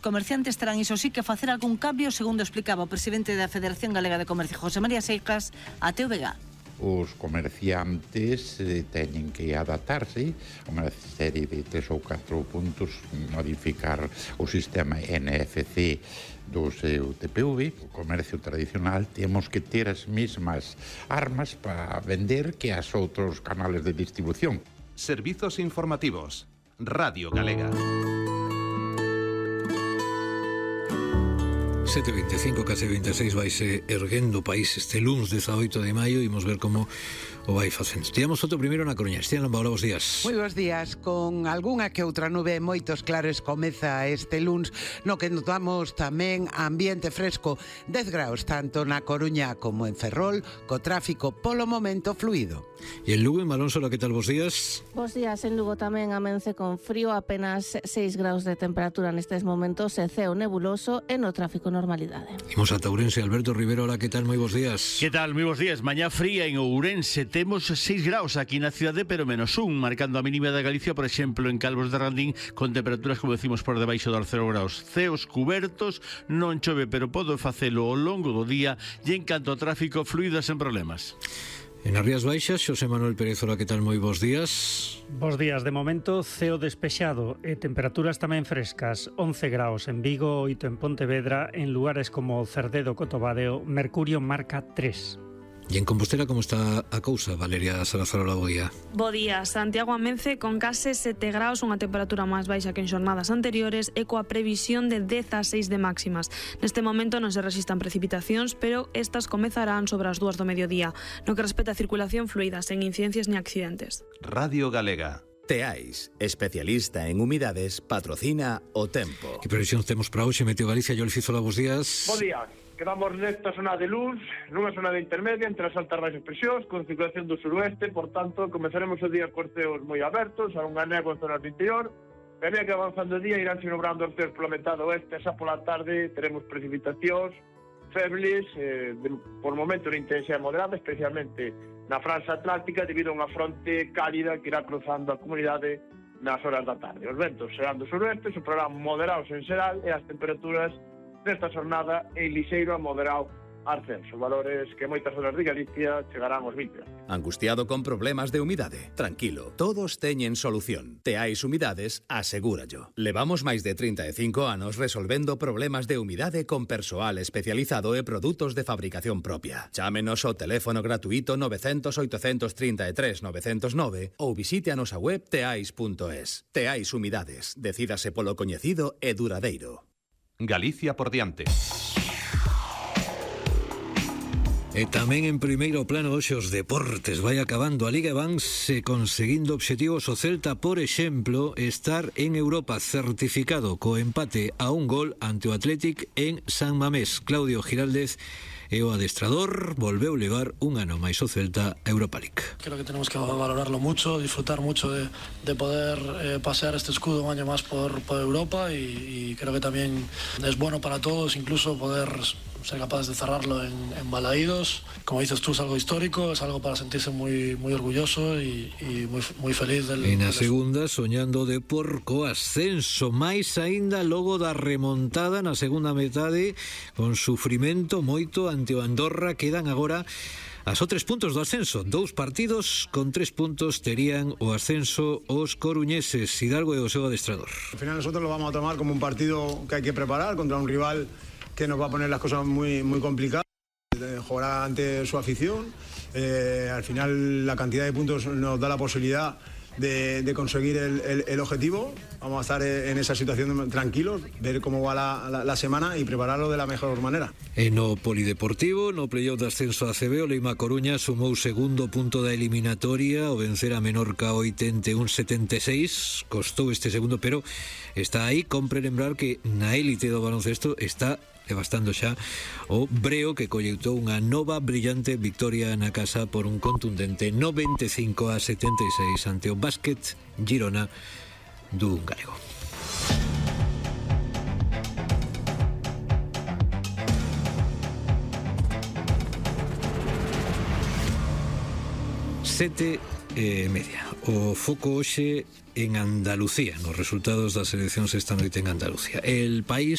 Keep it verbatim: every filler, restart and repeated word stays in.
Comerciantes terán iso sí que facer algún cambio, segundo explicaba o presidente da Federación Galega de Comercio, José María Seijas, a T V G. Os comerciantes eh, teñen que adaptarse a unha serie de tres ou catro puntos, modificar o sistema N F C do seu T P V. O comercio tradicional temos que ter as mesmas armas para vender que as outros canales de distribución. Servizos informativos. Radio Galega. sete e veinticinco, case veintiséis, vaise erguendo o país este luns dezaoito de maio. Imos ver como o vai facendo. Estiamos outro primeiro na Coruña. Estian Lamba, hola, bons días. Moi bons días. Con algunha que outra nube e moitos claros comeza este luns, no que notamos tamén ambiente fresco, dez graus tanto na Coruña como en Ferrol, co tráfico polo momento fluido. E en Lugo, en Malónsola, que tal, bons días? Bos días, en Lugo tamén amence con frío, apenas seis graus de temperatura nestes momentos, e ceo nebuloso e no tráfico normalidade. Imos a Ourense, Alberto Rivero, hola, que tal, moi bons días. Que tal, moi bons días. Mañá fría en Ourense, temos seis graus aquí na cidade, pero menos un, marcando a mínima da Galicia, por exemplo, en Calvos de Randín, con temperaturas, como decimos, por debaixo dos cero graus. Ceos cubertos, non chove, pero podo facelo ao longo do día, e en canto ao tráfico, fluido sen problemas. En as Rías Baixas, Xosé Manuel Pérez, hola, que tal, moi bons días. Bos días, de momento ceo despexado e temperaturas tamén frescas, once graus en Vigo, oito en Pontevedra, en lugares como Cerdedo, Cotobadeo, Mercurio marca tres. E en Compostela, como está a cousa, Valeria Salazar, hola, bo día. Bo día, Santiago amence con case sete graus, unha temperatura máis baixa que en xornadas anteriores e coa previsión de dezaseis de máximas. Neste momento non se resistan precipitacións, pero estas comezarán sobre as dúas do mediodía. No que respecta a circulación fluida, sen incidencias ni accidentes. Radio Galega. Teais, especialista en humidades, patrocina o tempo. Que previsións temos para hoxe? Meteo Galicia, yo le fizo la bos días. Bo día. Quedamos nesta zona de luz, nunha zona de intermedia entre as altas e baixas presións, con circulación do suroeste, por tanto, comezaremos o día con ceos moi abertos, a unha néboa en zonas do interior, e a medida que avanzando o día irán sinobrando os ceos pola metade oeste, xa pola tarde teremos precipitacións febles, eh, de, por momento de intensidade moderada, especialmente na franxa atlántica, debido a unha fronte cálida que irá cruzando a comunidade nas horas da tarde. Os ventos serán do suroeste, soprarán moderados en xeral, e as temperaturas nesta jornada en lixeiro a moderado ascenso, valores que moitas zonas de Galicia chegarán aos vinte. Angustiado con problemas de humidade? Tranquilo, todos teñen solución. Teais Humidades, asegúrallo. Levamos máis de trinta e cinco anos resolvendo problemas de humidade con persoal especializado e produtos de fabricación propia. Chámenos ao teléfono gratuito nove cero cero, oito tres tres, nove cero nove ou visite a nosa web teais punto es. Teais Humidades, decídase polo coñecido e duradeiro. Galicia por diante. E tamén en primeiro plano hoxe os deportes. Vai acabando a Liga e vanse conseguindo obxectivos. O Celta, por exemplo, estar en Europa certificado co empate a un gol ante o Athletic en San Mamés. Claudio Giraldez e o adestrador volveu levar un ano máis o Celta a Europa League. Creo que tenemos que valorarlo mucho, disfrutar mucho de, de poder eh, pasear este escudo un año más por, por Europa y, y creo que también es bueno para todos incluso poder ser capaces de cerrarlo en, en Balaídos. Como dices tú, es algo histórico, es algo para sentirse muy, muy orgulloso y, y muy, muy feliz del... En a del... segunda, soñando de porco ascenso, máis aínda logo da remontada na segunda metade, con sufrimento moito ante o Andorra. Quedan agora a só tres puntos do ascenso. Dous partidos con tres puntos terían o ascenso os coruñeses. Hidalgo e o seu adestrador. Al final nosotros lo vamos a tomar como un partido que hay que preparar contra un rival que nos va a poner las cosas muy, muy complicadas. Jugará ante su afición. Eh, al final la cantidad de puntos nos da la posibilidad de, de conseguir el, el, el objetivo. Vamos a estar en esa situación tranquilos, ver cómo va la, la, la semana y prepararlo de la mejor manera. En o Polideportivo, no playoff de ascenso a A C B, o Leima Coruña sumou segundo punto da eliminatoria ao vencer a Menorca oitenta e un setenta e seis. Costou este segundo, pero está aí. Compre lembrar que na élite do baloncesto está devastando xa o Breo, que colleitou unha nova brillante victoria na casa por un contundente noventa e cinco a setenta e seis ante o Básquet Girona do galego. Sete e media. O foco hoxe en Andalucía, nos resultados das eleccións esta noite en Andalucía. El País